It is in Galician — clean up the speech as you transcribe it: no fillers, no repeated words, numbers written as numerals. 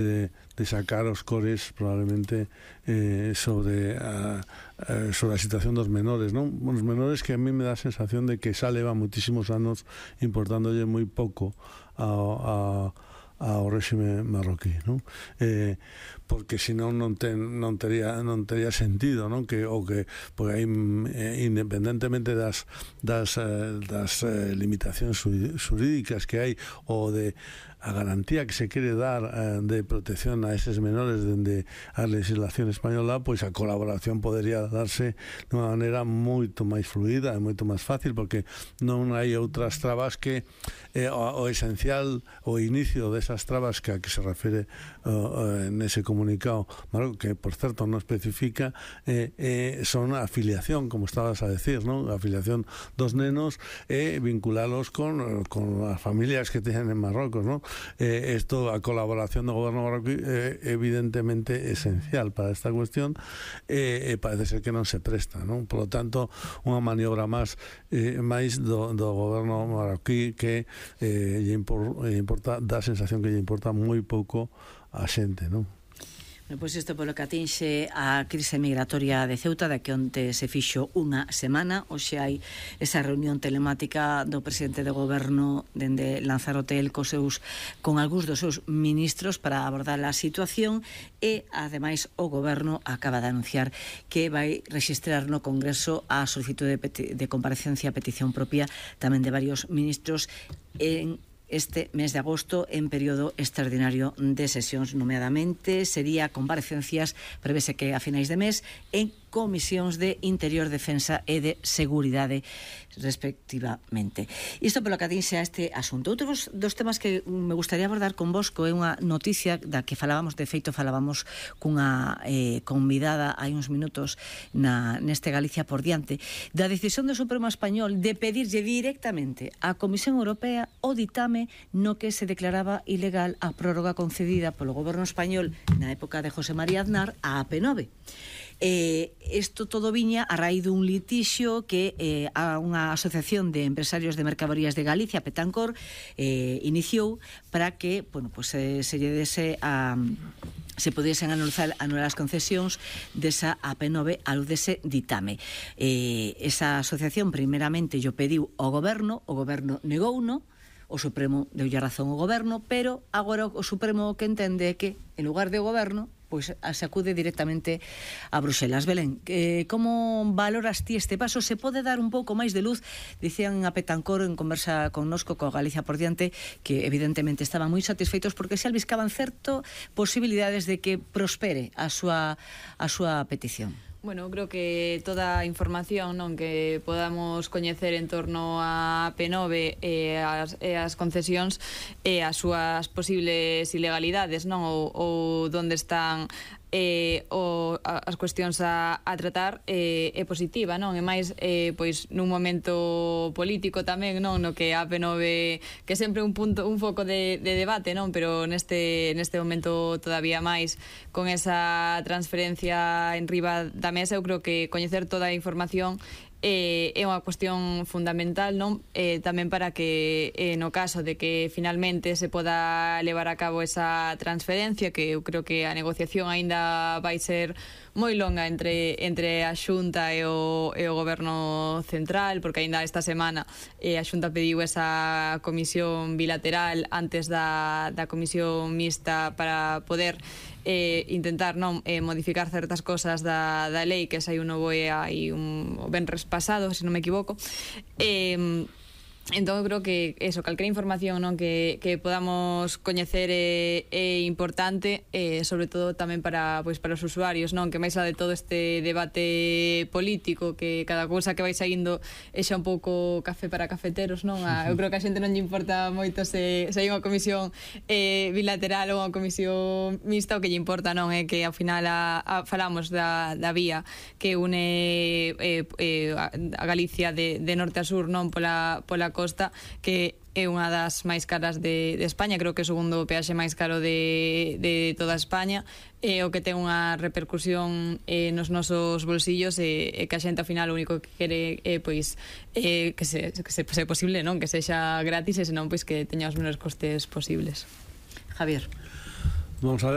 de sacar os cores probablemente sobre a situación dos menores, non? Os menores que a mí me dá a sensación de que xa leva moitísimos anos importándolle moi pouco ao réxime marroquí, non? Porque senón non tería sentido, non? Porque aí, independentemente das limitacións xurídicas que hai ou de a garantía que se quere dar de protección a eses menores dende a legislación española, pois a colaboración podería darse de unha maneira moito máis fluida e moito máis fácil, porque non hai outras trabas que o esencial, o inicio desas trabas que a que se refere nese comunicado, que por certo non especifica, son a afiliación, como estabas a decir, non? A afiliación dos nenos e vinculalos con as familias que teñen en Marrocos, non? Isto, a colaboración do goberno marroquí é evidentemente esencial para esta cuestión e parece ser que non se presta, non? Por lo tanto, unha maniobra máis do goberno marroquí que dá a sensación que lle importa moi pouco a xente, non? Pois isto polo que atinxe a crise migratoria de Ceuta, da que onte se fixo unha semana. Hoxe hai esa reunión telemática do presidente do goberno dende Lanzarote con algúns dos seus ministros para abordar a situación e, ademais, o goberno acaba de anunciar que vai rexistrar no Congreso a solicitude de comparecencia a petición propia tamén de varios ministros en este mes de agosto en período extraordinario de sesións. Nomeadamente sería comparecencias, prevese que a finais de mes, en comisións de Interior, Defensa e de Seguridade, respectivamente. Isto polo que atinxe a este asunto. Outros dos temas que me gustaría abordar con vos é unha noticia da que falábamos, de feito falábamos cunha convidada hai uns minutos neste Galicia por diante, da decisión do Supremo Español de pedirlle directamente á Comisión Europea o ditame no que se declaraba ilegal a prórroga concedida polo goberno español na época de José María Aznar a AP9. Isto todo viña a raíz dun litixio que a unha asociación de empresarios de mercadorías de Galicia, Petancor, iniciou para que, bueno, pues, se lle dese se pudiesen anular as concesións desa AP9 a luz dese ditame. Esa asociación primeramente lle pediu ao goberno, o goberno negouno, o Supremo deulle razón ao goberno, pero agora o Supremo o que entende é que, en lugar de goberno, pois se acude directamente a Bruxelas. Belén, como valoras ti este paso? Se pode dar un pouco máis de luz? Dicían a Petancor en conversa connosco coa Galicia por diante que evidentemente estaban moi satisfeitos porque se albiscaban certo posibilidades de que prospere a súa petición. Bueno, creo que toda a información, non, que podamos coñecer en torno a P9 e as concesións e as súas posibles ilegalidades, non, ou onde están as cuestións a tratar é positiva, non? E máis, pois, nun momento político tamén, non? No que a P9, que sempre un foco de debate, non? Pero neste momento todavía máis, con esa transferencia en riba da mesa, eu creo que coñecer toda a información é unha cuestión fundamental, non? Tamén para que no caso de que finalmente se poda levar a cabo esa transferencia, que eu creo que a negociación aínda vai ser moi longa entre a Xunta e o Goberno Central, porque aínda esta semana a Xunta pediu esa comisión bilateral antes da comisión mixta para poder intentar non modificar certas cosas da lei que saiu no BOE hai un venres pasado, se non me equivoco. Entón, eu creo que eso, calquera información, non, que podamos coñecer é importante, sobre todo tamén para os usuarios, non, que máis a de todo este debate político, que cada cousa que vai saindo é xa un pouco café para cafeteros, non? Eu creo que a xente non lle importa moito se hai unha comisión bilateral ou unha comisión mixta. O que lle importa, non, é que ao final falamos da vía que une a Galicia de norte a sur, non, pola costa, que é unha das máis caras de España. Creo que é o segundo peaxe máis caro de toda España, o que ten unha repercusión nos nosos bolsillos, e que a xente ao final o único que quere é pois que se posible, non, que sexa gratis, e senón pois que teña os menores costes posibles. Javier. Vamos a ver.